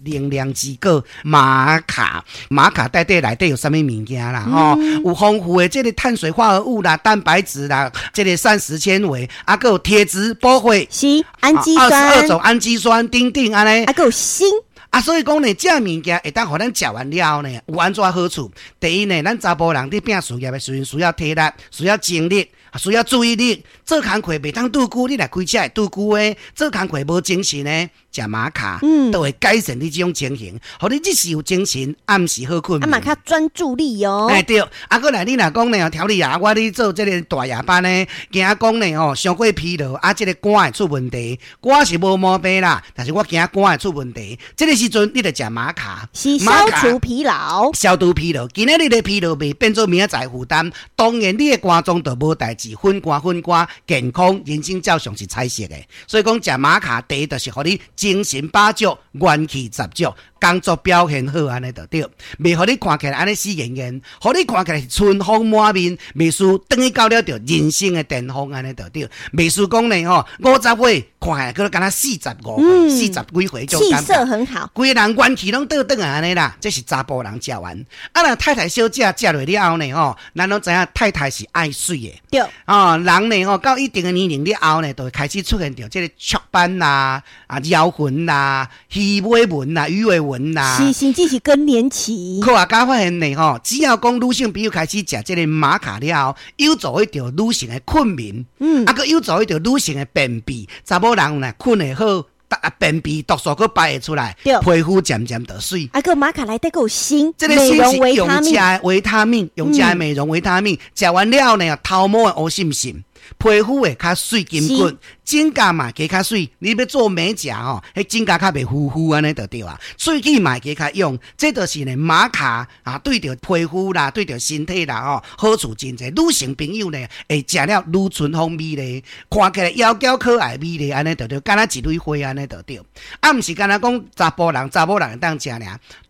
能量之果瑪卡。瑪卡底底內底有啥物物件啦？吼，有豐富的這个碳水化合物啦、蛋白質啦、這个膳食纖維，啊，閣有鐵質、補血，是氨基酸， 22種氨基酸，等等按呢。啊，閣有鋅。啊，所以講呢，這物件會當予咱食完了後呢，有按怎好處？第一呢，咱查埔人佇拚事業的時陣需要體力，需要精力，需要注意力。做工課袂當拄久，你若開車會拄久的，做工課無精神的，食瑪卡，都會改善你這種情形，予你日時有精神，暗時好睏。啊，嘛較專注力哦。欸對，啊，閣來你若講呢，調理啊，我咧做這个大夜班呢，驚講呢吼，傷過疲勞，啊，這个肝會出問題。肝是無毛病啦，但是我驚肝會出問題。這个時陣你著食瑪卡，是消除疲勞，消除疲勞。今仔日的疲勞袂變做明仔載負擔，當然你的肝臟就無代誌，粉肝粉肝，健康人生照常是彩色的。所以講食瑪卡，第一就是予你精神飽足，元氣十足，工作表現好按呢就對，袂予你看起來按呢死嚴嚴，予你看起來是春風滿面，袂輸轉去到了著人生的巔峰按呢就對，袂輸講呢吼，50歲看起來閣敢若45歲、四十幾歲，氣色很好，規个人元氣攏倒轉來按呢啦，這是查埔人食完。啊，若太太小姐食落了後呢吼，咱攏知影太太是愛媠的，哦，人呢吼到一定的年齡了後呢，就會開始出現著這个雀斑啦、啊腰痕啦、魚尾紋啦、魚尾紋啦，是，甚至是更年期。科學家發現呢吼，只要講女性朋友開始食這个瑪卡了後，有助於著女性的困眠，啊，閣有助於著女性的便秘。查某人呢睏會好，啊，便秘毒素閣排會出來，皮膚漸漸就媠。啊，閣瑪卡內底閣有鋅，這个鋅是用食的維他命，用食的美容維他命，食完了後呢，頭毛會烏滲滲。皮膚會較媠筋骨，指甲嘛加較媠。你欲做美甲吼，彼指甲較袂糊糊按呢就對啊。喙齒嘛會加較用，這就是呢瑪卡啊，對著皮膚啦，對著身體啦吼，好處真濟。女性朋友呢，會食了愈春風美麗，看起來窈窕可愛美麗按呢就對，敢若一蕊花按呢就對。啊，毋是干焦講查埔人、查某人會當食爾，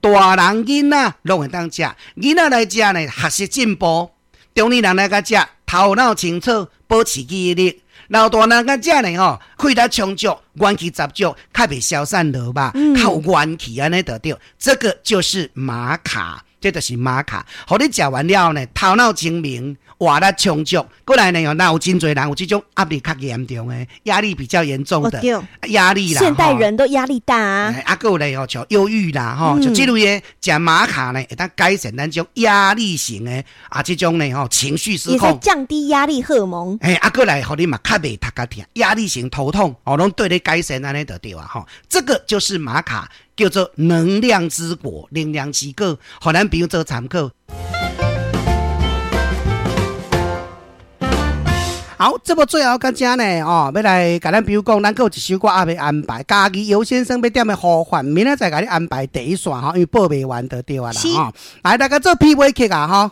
大人囡仔攏會當食。囡仔來食呢，學習進步；中年人來共食，頭腦清楚，保持記憶力。老大人共食呢吼，氣力充足，元氣十足，較袂消散落肉，較有元氣按呢就對。這個就是瑪卡，這就是瑪卡。予你食完了後呢，頭腦清明，活力充足。過來呢，若有真濟人有這種壓力較嚴重的，壓力比較嚴重的壓力啦。現代人都壓力大啊。啊，閣有咧吼，像憂鬱啦，吼，就這類的食瑪卡呢，會當改善咱這種壓力型的啊，這種呢吼情緒失控，降低壓力荷爾蒙。嘿，啊，閣來予你嘛較袂頭殼疼，壓力型頭痛哦，攏對你改善按呢就對啊，吼。這個就是瑪卡，叫做能量之果，能量之果，予咱朋友做參考。好，這部最後到這呢，哦，欲來共咱朋友講，咱閣有一首歌猶未安排，嘉義尤先生欲點的呼喚，明仔載共你安排第一線吼，因為報袂完就對啊啦，吼。來，大家做片尾曲啊，吼。